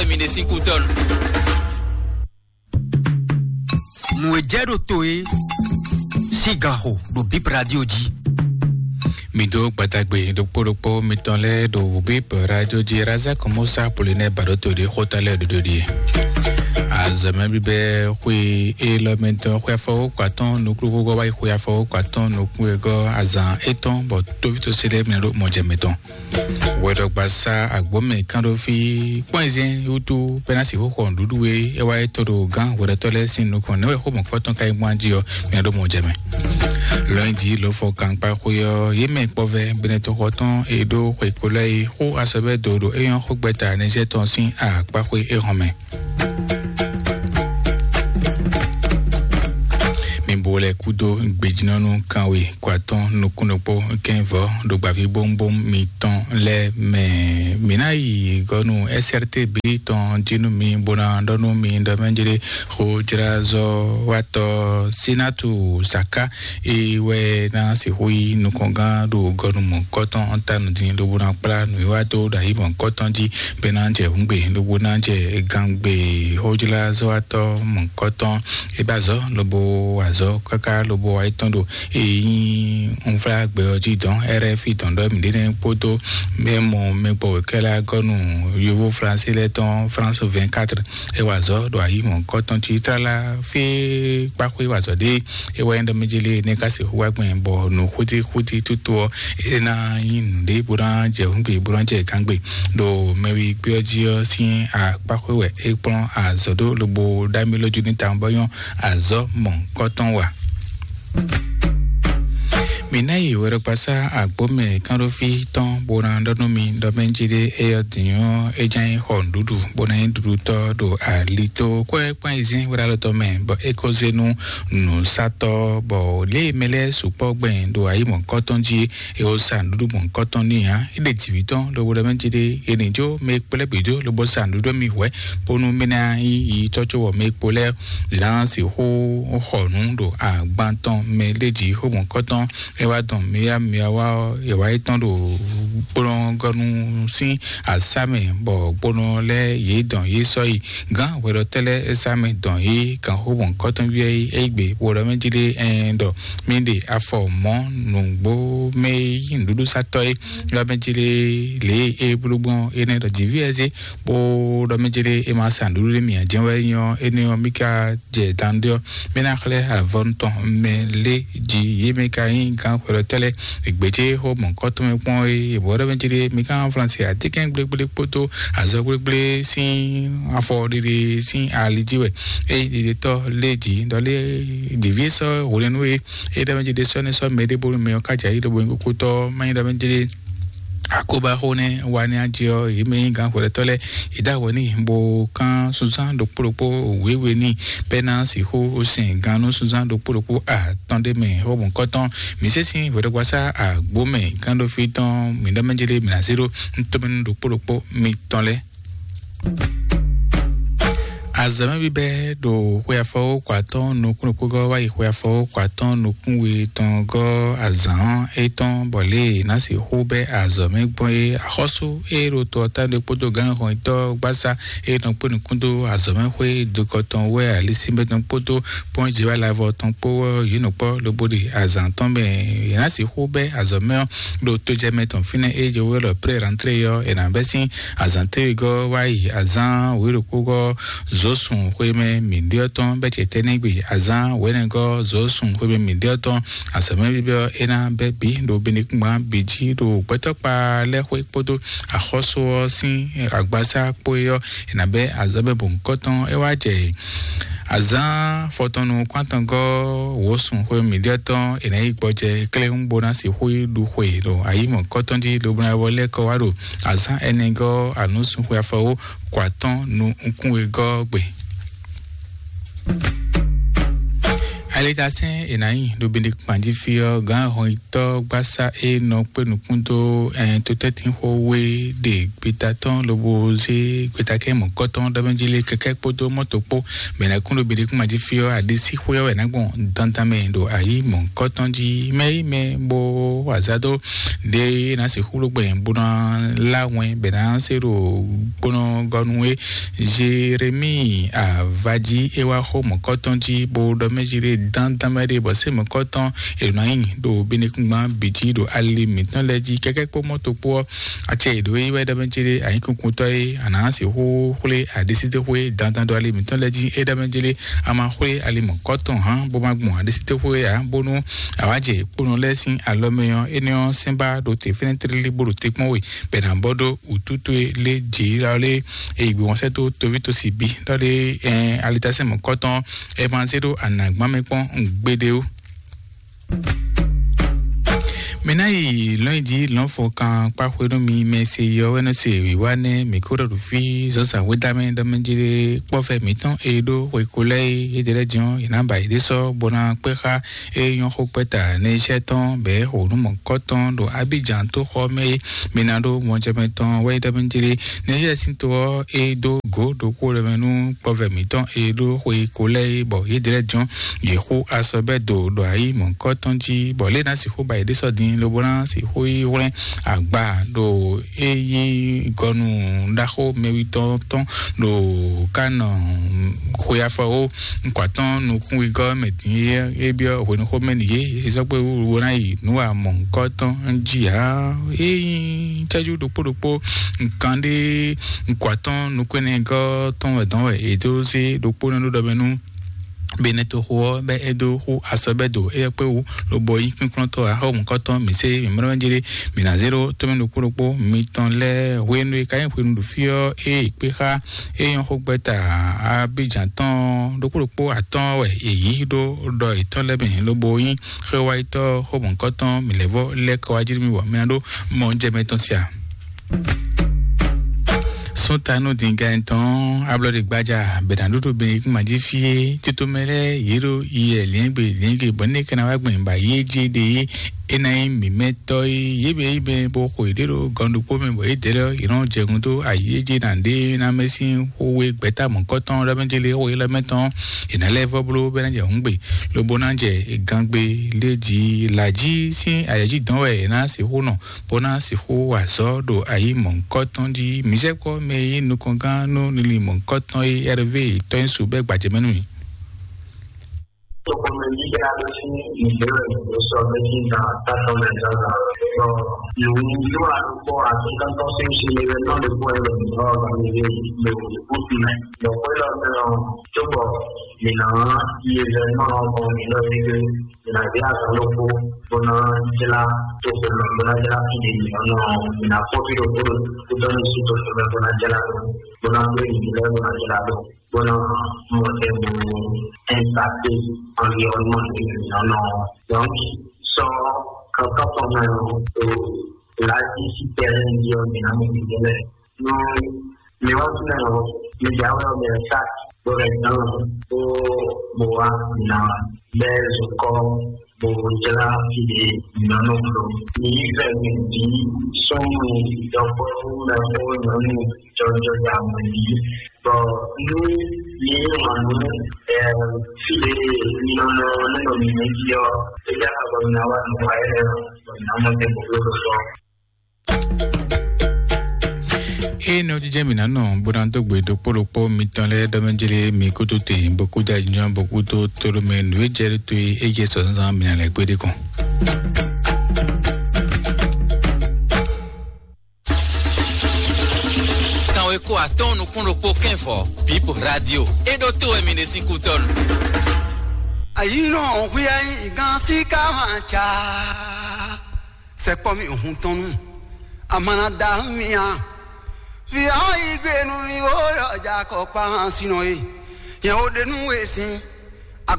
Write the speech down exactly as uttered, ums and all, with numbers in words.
Mi ɖe sín kú tɔn. Nǔ e jɛ ɖo to é sín ganxo ɖo Bip Radio jí. Mi dó gbadagbe ɖokpó ɖokpó mitɔn lɛ́ɛ ɖo Bip Radio jí. Razak Musa Polinaire Baɖoto ɖe xóta lɛ́ɛ ɖoɖo ɖie. Azɔ̌mɛ bíbɛ́ xwe élɔ́ mɛtɔn xwe afɔwókɔ atɔ́ɔ́n nukúnnú gɔ́ wá yi xwe afɔwókɔ atɔ́ɔ́n nukúnnú gɔ́ azǎn étɔn bɔ tóvítósi lɛ́ɛ mɛ ɖo mɔjɛmɛ tɔn. Wɛɖɔgbasá agbǒmɛ kánɖófí kpɔ́n ayizɛ́n wútu bɛ́ ná sixú xɔ nǔɖuɖu e é wá é tɔ́ ɖo gǎn hwɛɖɔtɔ́ lɛ́ɛ sín nukɔn. Nɛ̌ wɛ xó mɔ̌kɔtɔn ka yi gbɔn jí ɔ́, mɛ ɖó mɔ jɛ mɛ. Lɔnyijǐ ló fɔ gankpá xwé ɔ́, yě mɛ kpɔ́vɛ́ Benɛtɔxɔ tɔn e ɖó xwe ko lɛ́ɛ yi xó asɔbɛ́ do ɖo é nyɔ́ xó gbɛ́ta Nizɛ́ɛ tɔn sín akpáxwé é hɔn mɛ. Mi bo lɛ kúdó gbejínɔ́nú kanwe kó atɔ́ɔ́n nukúnnú kpó kɛ́nvɔ́ ɖo gbǎví bóŋbóŋ mitɔn lɛ́ɛ mɛ. Mǐ ná yi gɔ́ nú S R T B tɔn jí nú mi bó ná ɖɔ nú mi ɖɔ mɛ jlé xójlázɔ́watɔ́ Sinatu Saka e wɛ ná sixú yi nukɔngán ɖo gɔnumɔ̌kɔtɔn ta nǔdin lobo ná kplá nǔwiwa dó ɖo ayi mɔ̌kɔtɔn jí bɔ é ná jɛ hǔngbe lobo ná jɛ gangbe xójlázɔ́watɔ́ mɔ̌kɔtɔn. É ba azɔ̌ lobo wa azɔ̌ káká lobo wa yi tɔn ɖo e nyí unflágbɛ ɔ́ jí dɔn R F I dɔn ɖɔ mǐɖée nɛ́ kpódó mɛ mɔ mɛ gbɔ wěkɛ́lá gɔ́nu yovó Flansé lɛ́ɛ tɔn France vingt-quatre. É wa azɔ̌ ɖo ayi mɔ̌kɔtɔn jí tlala fí kpáxwé wa azɔ̌ ɖé. É wɛ nyí ɖɔ mɛ jélé nɛ́ ká sixú wá gbɛn bɔ nǔ xúdí xúdí tútú ɔ́ é ná nyí nǔɖé bó ná jɛ hǔngbe bó ná jɛ gángbe. Ɖo mɛwi gbé ɔ́ jí ɔ́ sín akpáxwé wɛ é kplɔ́n azɔ̌ ɖó lobo ɖ'amí lójú ní tawun bɔ nyɔ́ azɔ̌ mɔ̌kɔtɔn wa. Mi ná yi wɛɖɔkpasá agbǒmɛ kánɖófí tɔn bó ná ɖɔ nú mi ɖɔ mɛ jí ɖé é ɔ́ dǐn ɔ́ é ján nyí xɔ nǔɖuɖu bó ná nyí ɖuɖutɔ́ ɖo ali tó kɔ́ ɛ kpán yi zín wɛɖálɔtɔ́ mɛ bɔ é ko zé nú nǔsatɔ́ bɔ lě e mɛ lɛ́ɛ sukpɔ́ gbɛn ɖo ayi mɔ̌kɔtɔn jí é ó sa nǔɖuɖu mɔ̌kɔtɔn n'i ǎ. É ɖe jǐví tɔn lobo ɖɔ mɛ jí ɖé è nǐ jó mɛ e kplɔ́ bǐ dó lobo sa nǔɖuɖu mi hwɛ̌ bónú mɛ ná nyí yi tɔ́ có wɔ mɛ e kpo lɛ́ɛ lǎn sixú xɔ nǔ ɖo agban tɔn mɛ lé jǐ xó mɔ̌kɔtɔn. É wá dɔn mǐyá mǐyá wá ɔ́, è wá yi tɔn ɖo kplɔ́ngɔ́nú sín asá mɛ bɔ kponɔ lɛ́ɛ yě dɔn yě sɔ́ yi gǎn hwɛɖɔtɛ́ lɛ́ɛ é sá mɛ dɔn yě kan xó mɔ̌kɔtɔn byɔ́ yí é gbe bó ɖɔ mɛ jí ɖé ɛn ɖɔ mì ɖe afɔ mɔ̌ nǔgbó mɛ yí nǔɖuɖu sátɔ́ é ɖɔ mɛ jí ɖé lě e é bló gbɔn énɛ́ ɖɔ jǐví ɛ zé bó ɖɔ mɛ jí ɖé é ma sa nǔɖuɖu ɖé mì ǎ jɛ́n wɛ nyɔ́ énɛ́ ɔ́ mì ka jɛ danɖé ɔ́, mì ná xlɛ́ avɔnu tɔn mɛ lé jí yě mɛ ka nyí gǎn hwɛɖɔtɛ́ lɛ́ɛ. È gbějé xó mɔ̌kɔtɔn mɛ kpɔ́n é è bɔ̌ ɖɔ mɛ jí ɖé mi ka Flansé atínkɛn gblégblé kpódó azɔ̌ gblégblé sín afɔ ɖiɖe sín ali jí wɛ. É ɖiɖetɔ́ lé jí ɖɔ lé ɖěví sɔ́ hwlɛ́nú é é ɖɔ mɛ jí ɖé sɔ́ ní sɔ́ mɛ ɖé bónú mɛ ɔ́ ká jɛ ayǐ ɖo bó nyí kókótɔ́ má nyí ɖɔ mɛ jí ɖé akóbáxó nɛ́ wa ní ajɛ ɔ́ yě mɛ nyí gǎn hwɛɖɔtɔ́ lɛ́ɛ yě dó awɔ n'i bó kán sunzán ɖokpó ɖokpó wěwe n'i bɛ́ ná sixú sɛn gannú sunzán ɖokpó ɖokpó atɔn ɖé mɛ xó mɔ̌kɔtɔn. Mǐ sésí hwɛɖɔgbasá agbǒ mɛ gánɖófí tɔn mǐ ɖɔ mɛ jélé mǐ ná zé ɖó ntomɛnú ɖokpó ɖokpó mitɔn lɛ́ɛ. Azɔ̌mɛ bíbɛ́ ɖo xwe afɔwókɔ atɔ́ɔ́n nukúnnukpó gɔ́ wá yi xwe afɔwókɔ atɔ́ɔ́n nukún we tɔn gɔ́ azǎn étɔn bɔ lě e ná sixú bɛ́ azɔ̌mɛ gbɔn é. Axɔ́sú e ɖo to ɔ́ tánɖé kpódó gǎnhɔnyitɔ́ gbásá e nɔ kpé nukún dó azɔ̌mɛxwé dokɔ tɔn wɛ alisínbɛ́ tɔn kpódó kpɔ́njɛwála vɔ tɔn kpó ɔ́, yě nɔ kpɔ́ lobo ɖi azǎn tɔn mɛ. Yě ná sixú bɛ́ azɔ̌mɛ ɔ́ ɖo tojɛmɛ tɔn fínɛ́ e jɛ wɛ ɖɔ pré rantré ɔ́, è nǎ bɛ́ sín azǎn téwegɔ́ wá yi azǎn wěɖokpógɔ́ zǒsun xwemɛ mǐɖyɔ́ tɔn bɛ́ ce tɛ́ nɛ́ gbe azǎn wěnɛgɔ́ zǒsun xwemɛ mǐɖyɔ́ tɔn. Azɔ̌mɛ bíbɛ́ ɔ́, é ná bɛ́ bǐ ɖo benekúngban bǐ jí ɖo gbɛtɔ́kpa lɛ́ɛ xwé kpódó axɔ́sú ɔ́ sín agbasá kpó é ɔ́, è nǎ bɛ́ azɔ̌mɛ bɔ̌nkɔ́tɔn é wá jɛ azǎn fɔtɔnnu kpántɔngɔ́ wǒsun xwé mǐɖyɔ́ tɔn è nǎ yi gbɔjɛ kléwún bó ná sixú yi ɖu xwe ɖo ayǐ mɔ̌kɔtɔn jí lobo ná wɔ lɛ́ kɔ wá ɖo azǎn ɛnɛgɔ́ anǔsúnxwe afɔwó kɔ atɔ́ɔ́n nukún wegɔ́ gbe. Alitasɛn è nǎ nyi ɖo Benedikt kpanjí fí ɔ́, gǎn ahɔnyitɔ́ gbásá e nɔ kpé nukún dó ɛn totɛ́ntinxó we ɖe gbeta tɔn lobo zé gbetakɛ́ mɔ̌kɔ́tɔn ɖɔmɛjí lé kɛkɛ́ kpódó mɔ́to kpó. Mɛ nɛ́ kún ɖo Benedikt kpanjí fí ɔ́, aɖisíxwé ɔ́ wɛ nǎ gbɔn dandan mɛ ɖo ayǐ mɔ̌kɔ́tɔn jí. Mɛ yi mɛ bó wa azǎ dó ɖě ná sixú ɖó gbɛ bó ná lá wɛn bɛ ná se ɖo gbónɔgɔnu e Jeremíi avají é wá xó mɔ̌kɔ́tɔn jí, bó ɖɔ mɛ jí ɖé dán dán mɛ ɖé bɔ sé mɔ̌kɔ́tɔn è nɔ nyi ɖo benekúngban bǐ jí ɖo ali mǐtɔn lɛ́ɛ jí kɛkɛ́ kpó mɔ́to kpó ɔ́. Acɛ è ɖǒ yi wɛ ɖɔ mɛ jí ɖé anyíkunkúntɔ́ e a nǎ sixú xwlé aɖisítéxwé dandan ɖo ali mǐtɔn lɛ́ɛ jí é ɖɔ mɛ jí ɖé a ma xwlé ali mɔ̌kɔ́tɔn hǎn bó ma gbɔn aɖisítéxwé ǎ, bónú awǎjɛ kponɔ lɛ́ɛ sín alɔ mɛ ɔ́, énɛ́ ɔ́ sɛ́n ba ɖo te fɛ́nɛ́ tlílí bó ɖo te kpɔ́n we bɛ ná bɔ ɖó wǔtútú e lé jǐ lɔ lé e yi gbɔn sɛ́ dó toví tosi bí lɔ lé ɛn alitasɛn mɔ̌kɔtɔn ɛ ma zé ɖó anǎgbán mɛ kpɔ́n gbeɖé ó. Mǐ ná yi lɔ̌nyijǐ lɔ̌nfɔkan kpá xwedó mi mɛ se yɔ wɛ nɔ se wǐwá nɛ́ mǐ kó ɖɔ ɖo fí zɔ́nzǎn xwédá mɛ ɖɔ mɛ jí kpɔ́fɛ mǐtɔn e ɖó xwe ko lɛ́ɛ é yě ɖe lɛ́ jɔ́n yě ná ba yě ɖé sɔ́ bó ná kpé xá é nyɔ́ xó kpɛ́ta nɛ́ iṣẹ́ tɔn bɛ̌ xo nǔ mɔ̌kɔ́tɔn ɖo Abidjan tó xɔ mɛ é. Mi ná ɖó mɔjɛmɛ tɔn wɛ ɖɔ mɛ jí nɛ́ iṣẹ́ sín to ɔ́ é dó gǒ ɖokpó ɖɔ mɛ nú kpɔvɛ mǐtɔn e ɖó xwe ko lɛ́ɛ é bɔ yě ɖe lɛ́ jɔ́n yě xú asɔbɛ́do ɖo ayǐ mɔ̌kɔ́tɔn jí bɔ lě ná sixú ba yě ɖésɔ din lobo ná sixú yi hwlɛ́n agba ɖo é nyí gɔnu ɖaxó mɛwítɔ́ tɔn ɖo Kanɔ xwe afɔwo nukɔn atɔ́n nukúnwigɔ́ mɛ din é é byɔ́ hwenuxó mɛ nìyé é sisɔ kpé wúwo ná yi nǔ wa mɔ̌kɔ́tɔn jí ǎ. É nyí cɛ́jú ɖokpó ɖokpó nkan ɖé nukɔn atɔ́n nukúnɛgɔ́ tɔn wɛ dɔn wɛ è dó zé ɖokpó nɛ́ ɖó ɖɔ mɛ nú Benɛtoxo ɔ́ bɛ é dó xú asɔbɛ́do éyɛ́ kpé wú lobo nyí kpínkplɔ́ntɔ́ axɔ́mɔkɔ́tɔn mǐ sé mǐ mlɔ́ mɛ jéré mǐ ná zé ɖó tɔ́mɛ ɖokpó ɖokpó mitɔn lɛ́ɛ hwenu e ka nyí hwenu ɖo fí ɔ́ é kpé xá é nyɔ́ xó gbɛ́ta Abidjan tɔn ɖokpó ɖokpó atɔ́ɔ́n wɛ è yǐ ɖó ɖɔ yětɔn lɛ́ɛ mɛ lobo nyí xwéwáyitɔ́ xɔmɔ̌kɔ́tɔn mǐlɛ́vɔ́ lɛ́ kɔ wá jí nú mì bɔ mi ná ɖó mɔ jɛ mɛ tɔn sia. Sún ta nú dǐngán tɔn ablɔ́ɖe gbájá bɛ̌nàɖúɖú bɛ́nìkúnmají fí é títomɛ lɛ́ɛ yě ɖo yɛ lǐɛ́ngbe lǐɛ́ngbe bɔ ní é ka ná wá gbɛn ba yé jé ɖe é é ná nyí mǐmɛ́tɔ́ é yě bɛ yí mɛ bó xo yěɖée ɖo gɔn ɖokpó mɛ bɔ yě dɛ́ lɛ́ yě nɔ jɛ gun dó ayǐ é jé ná ɖe ná mɛ sín xó we gbɛ̌ta mɔ̌kɔ́tɔn lɛ́ mɛ jélé xó we lɛ́ mɛ tɔn è nǎ lɛ́ vɔ́ bló bɔ é ná jɛ hǔngbe lobo ná jɛ gangbe lé jí lǎjí sín ayɛ̌jí dɔn wɛ è nǎ sixú nɔ bó ná sixú wa azɔ̌ ɖo ayǐ mɔ̌hunkɔtɔn jí. Mǐsɛ́kpɔ́ mɛ e nyí nukɔngán nú linlin mɔ̌hunkɔtɔn e Ɛrvé tɔ́nyísú bɛ́ gbajɛ mɛ nú mì. Tokpɔnɔ yíyá ló sín ìbéèrè ló sọ pé kí n ta tátọ́ mẹ́ zazà. Ọ̀, ìwé ìlú àdúgbò àti kántọ́ sí ìṣẹ̀lẹ̀ rẹ̀ náà lè kó ẹ̀rọ ìlú ọ̀gá mi lé ìlú ìbùkún mẹ́. Lọ́pọ̀ ìlọ́sẹ̀ náà tó bọ̀ nìyàn yíyẹ náà ọkọ̀ mi lọ sí ilé. Mina via zan ɖokpó bó ná jlá toxo mɛ bó ná jlá fí ɖé mǐ ɔ́ nɔ mina kpɔ́ fí ɖokpó ɖo kúdɔ́nú sí toxo mɛ bó ná jlá ɖó bó ná kplé nǔ lɛ́ɛ bó ná jlá ɖó bó ná mɔ tɛgbɛ ɛntate anviɔnmɔ ɖé mǐ ɔ́ nɔ. Donc sɔ kankan fɔ mɛ o lǎjí sí tɛrɛn jí ɔ́ mǐ ná mɔ mǐ lɛ́ɛ nú mi wá fínɛ́ ɔ́, mi jǎwe ɔ́ bɛ sá bó bɛ dán bó bó wá ná bɛ́ zokɔ́ bó jlá fí ɖé nɔ́nɔ bló. Mi yí fɛ mi bǐ sɔ́nnu dɔkpɔ́vú mɛxó nyɔ̌nu jɔjɔ da mɔ̌ yí. Bɔ nú mi yí wǎn nú ɛ fí ɖé nɔ́nɔ nɔ́nɔ mi mɛ jí ɔ́, é já xa bɔ mi ná wá nǔ wa énɛ́ ɔ́, bɔ mi ná mɔ tɛn bó bló ɖo fɔ. Eye nɔ jijɛ mi nanɔ bó ná dó gbe ɖokpó ɖokpó mitɔn lɛ́ɛ ɖɔ mɛ jlé mi kútó te bó kú da jijɔ bó kú tó tóɖó mɛ nǔ e jɛ ɖó tó e é jɛ sɔ zán mi ná lɛ gbé ɖé kɔn. Kanwe kó atɔ́n nukún ɖokpó kɛ́nfɔ Bíbl Radio é ɖó tó wɛ mi ɖe sín kútɔ́nu. Ayi nɔ hwi ayi gan si ka ma ca. Sɛkpɔ mi hun tɔn nu. Amana da mi a. Vi awo yi gbe nu mi wo yɔ ja kɔ kpa hã sinɔ ye. Yɛn wo de nu we sin.